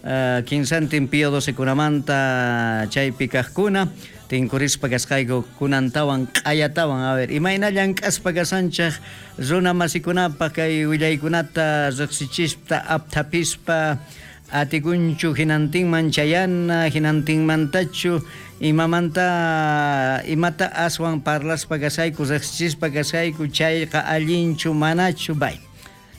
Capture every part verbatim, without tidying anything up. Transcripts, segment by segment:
uh, kinsantin Pío doce kunamanta chaypi kajkuna tinkurispa kasqayku kunantawan q'ayatawan. A ver, imayna llank'aspa kasanchej runa masikunapaq kay willaykunata riqsichispa apthapispa atikunchu hinantinman chayana hinantinmantachu imamanta imata aswan parlaspa kasayku riqsichispa kasayku chayqa allinchu manachu bay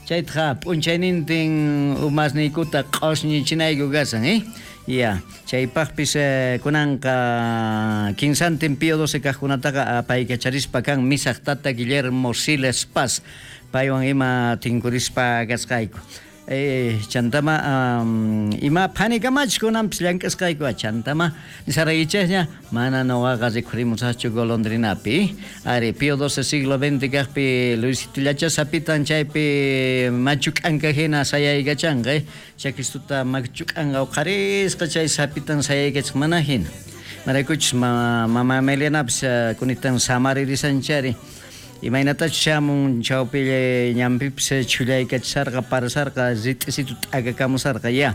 chaytaqa p'unchaynintin umasniykuta q'usñichinayku kasan, eh? Ya, chaypaqpis eh, kunanqa kinsantin Pío doce kajkunataqa apaykacharispa kan misaq tata Guillermo Siles Paz paywan ima tinkurispa kasqayku. Eh, chantama um, ima phanikamachu kunanpis llank'asqayku chantama nisaraykichikña mana nuqaqa rikhurimusaqchu golondrinapi. Ari Pío doce siglo veinte kaqpi Luisitullacha sapitan chaypi machu k'anka hina sayaykachanqa, eh? Chakistuta machu k'anqa uqharisqa chay sapitan sayaykachaq mana hina. Maraykuchus ma, mama Melianapis uh, kunitan samaririsanchari. Imaynatachu shamun chawpi ñanpipis chhullaykachisarqa parasarqa rit'isitu t'akakamusarqa ya.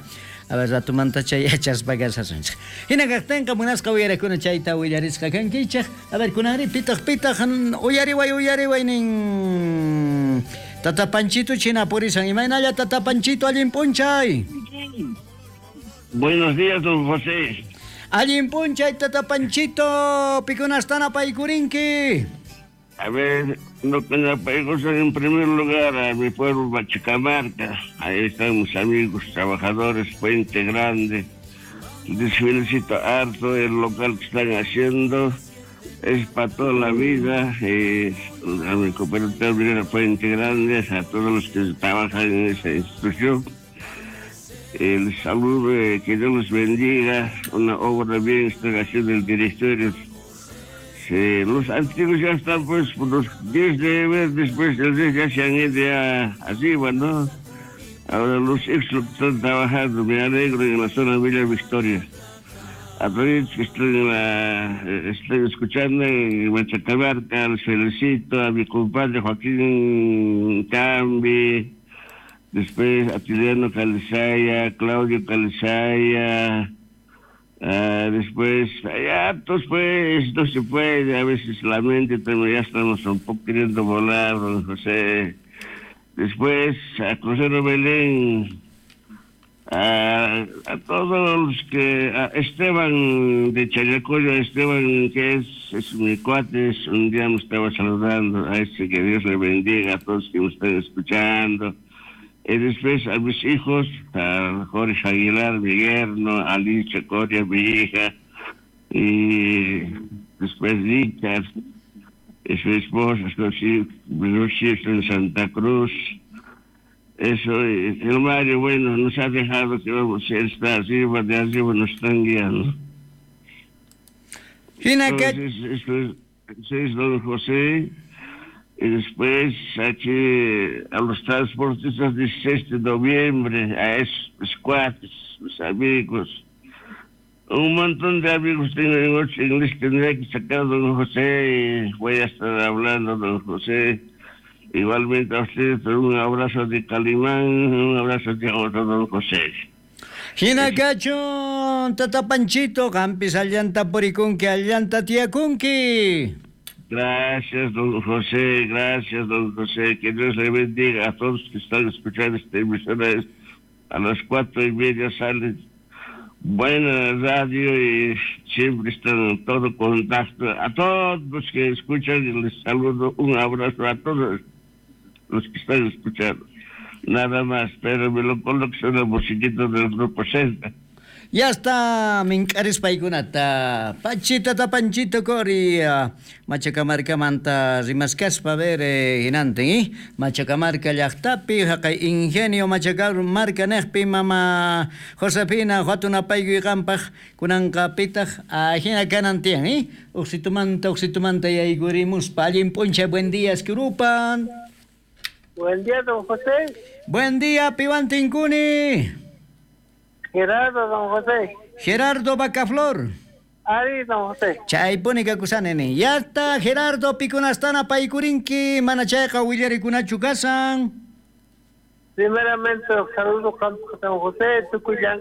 A ver, ratumanta chay yachaspa kasasunchik. Hina kaqtinqa munasqa uyarakuna chayta willarisqa kankichik. A ver, kunanri pitaq pitaq uyariway uyariway nin Tata Panchito china purisan. Imaynalla Tata Panchito allin p'unchay. Buenos días, don José. Allin p'unchay Tata Panchito, pikunastana paykurinki. A ver, no en primer lugar a mi pueblo Machacamarca. Ahí están mis amigos trabajadores, Puente Grande. Les felicito harto el local que están haciendo. Es para toda la vida. Eh, a mi cooperativa minera Puente Grande, a todos los que trabajan en esa institución. Eh, les saludo, eh, que Dios los bendiga. Una obra bien están haciendo el directorio. Sí, los antiguos ya están, pues, los diez de ver, después del diez ya se han ido ya arriba, ¿no? Ahora los ex lo que están trabajando, me alegro en la zona Villa Victoria. A todos que están, en la, están escuchando en Machacamarca, les felicito a mi compadre Joaquín Cambi, después a Tiliano Calizaya, Claudio Calizaya. Uh, después, ya, pues, pues, no se puede, a veces la mente también ya estamos un poco queriendo volar, don José. Después, a Crucero Belén, a, a todos los que, a Esteban de Chayacoyo, Esteban, que es, es mi cuate, es, un día me estaba saludando, a ese que Dios le bendiga a todos que me están escuchando. Y después a mis hijos, a Jorge Aguilar, mi yerno, a Alicia Coria, mi hija, y después Richard, y su esposa, los hijos en Santa Cruz. Eso, el Mario, bueno, nos ha dejado que vamos a estar arriba, de arriba nos están guiando. Entonces, eso es, eso es don José. Y después aquí a los transportistas dieciséis de noviembre, a esos cuates, mis amigos. Un montón de amigos tengo en ocho inglés, tendría que sacar a don José y voy a estar hablando, don José. Igualmente a ustedes, un abrazo de Calimán, un abrazo de otro don José. Hinakachun, Tata Panchito, qampis allanta purikunki, allanta tiyakunki. Gracias, don José, gracias, don José. Que Dios le bendiga a todos que están escuchando esta emisora. A las cuatro y media sale buena radio y siempre están en todo contacto. A todos los que escuchan, les saludo, un abrazo a todos los que están escuchando. Nada más, pero me lo coloco en la musiquita del Grupo Celta. Ya está, mink'arispaykunata Pachita Tapanchito Cori, Machacamarcamanta rimaskaspa ver eh, hinantin, eh? Machacamarca llaqtapi haqay ingenio Machacamarca neqpi mama Josefina huatunapaykuy qampaq kunanqa pitaq ahina kanan tiyan, eh? Uqsitumanta uqsitumanta yaykurimuspa allin p'unchay, buen día, esquirupan. Buen día, don José. Buen día, piwan tinkuni. Gerardo, don José. Gerardo Bacaflor. Ari, don José. Chaypuni kakusani nin. Ya está, Gerardo, pikunastana paykurinki, mana chayqa willarikunachu kasan. Primeramente, saludo, don José, tukuy